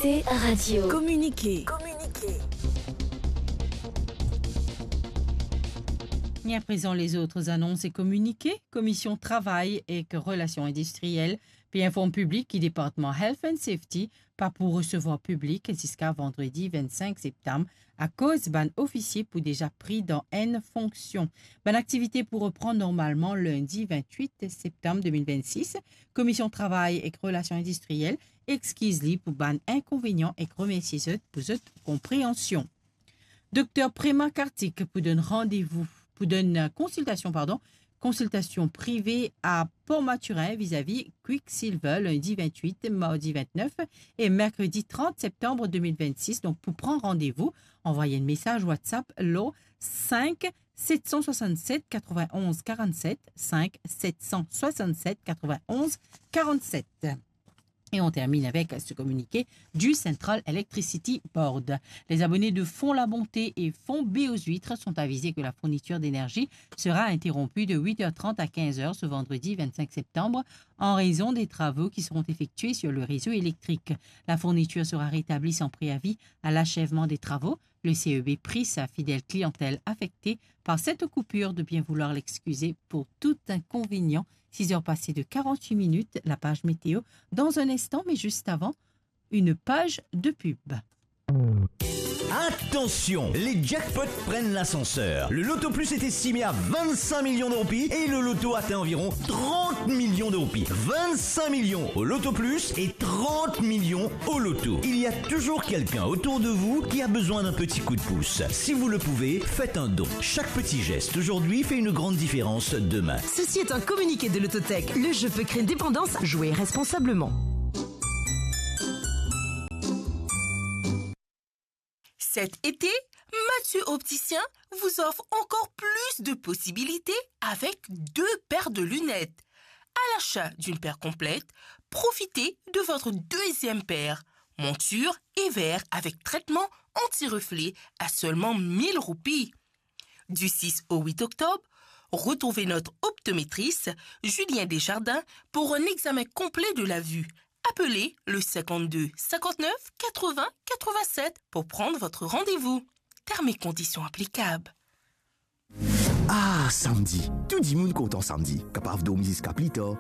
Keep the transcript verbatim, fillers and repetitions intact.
T Radio. Kominike. E aprezan, lezot anons e kominike. Komision Travay ek Relasion Indistriel pe inform piblik ki Departman Health and Safety pa pou resevwar piblik ziska vandredi vinn-sink septam, akoz bann ofisie pou deza pri dan enn fonksion. Bann aktivite pou reprann normalman lindi vinn-wit septam de mil vinn-sis. Komision Travay ek Relasion Indistriel exkiz li pou bann inkonvenian ek remersie zot pou zot konpreansion. Dokter Prema Kartik pou donn randevou, pou donn, euh, konsiltasion, pardon, konsiltasion prive a Port Mathurin vizavi Quicksilver, lindi vinn-wit, mardi vinn-nef e merkredi trant septam de mil vinn-sis. Donk, pou pran randevou, anvway enn mesaz WhatsApp lor sink set san swasann-set katrovin-onz karann-set, sink set san swasann-set katrovin-onz karann-set. Et on termine avec ce communiqué du Central Electricity Board. Les abonnés de Fonds La Bonté et Fonds Baie aux Huîtres sont avisés que la fourniture d'énergie sera interrompue de huit heures trente à quinze heures ce vendredi vingt-cinq septembre en raison des travaux qui seront effectués sur le réseau électrique. La fourniture sera rétablie sans préavis à l'achèvement des travaux. Le C E B prie sa fidèle clientèle affectée par cette coupure de bien vouloir l'excuser pour tout inconvénient. Six heures passées de quarante-huit minutes, la page météo dans un instant, mais juste avant, une page de pub. Attention, les jackpots prennent l'ascenseur. Le Loto Plus est estimé à vingt-cinq millions de roupies et le loto atteint environ trente millions de roupies. Vingt-cinq millions au Loto Plus et trente millions au loto. Il y a toujours quelqu'un autour de vous qui a besoin d'un petit coup de pouce. Si vous le pouvez, faites un don. Chaque petit geste aujourd'hui fait une grande différence demain. Ceci est un communiqué de Lototech. Le jeu peut créer une dépendance. Jouez responsablement. Cet été, Mathieu Opticien vous offre encore plus de possibilités avec deux paires de lunettes. À l'achat d'une paire complète, profitez de votre deuxième paire, monture et verre avec traitement anti-reflet à seulement mille roupies. Du six au huit octobre, retrouvez notre optométriste Julien Desjardins pour un examen complet de la vue. Appelez le cinquante-deux cinquante-neuf quatre-vingts quatre-vingt-sept pour prendre votre rendez-vous. Termes et conditions applicables. Ah, samdi. Tou dimoun kontan samdi. Kapav dormi ziska pli tar,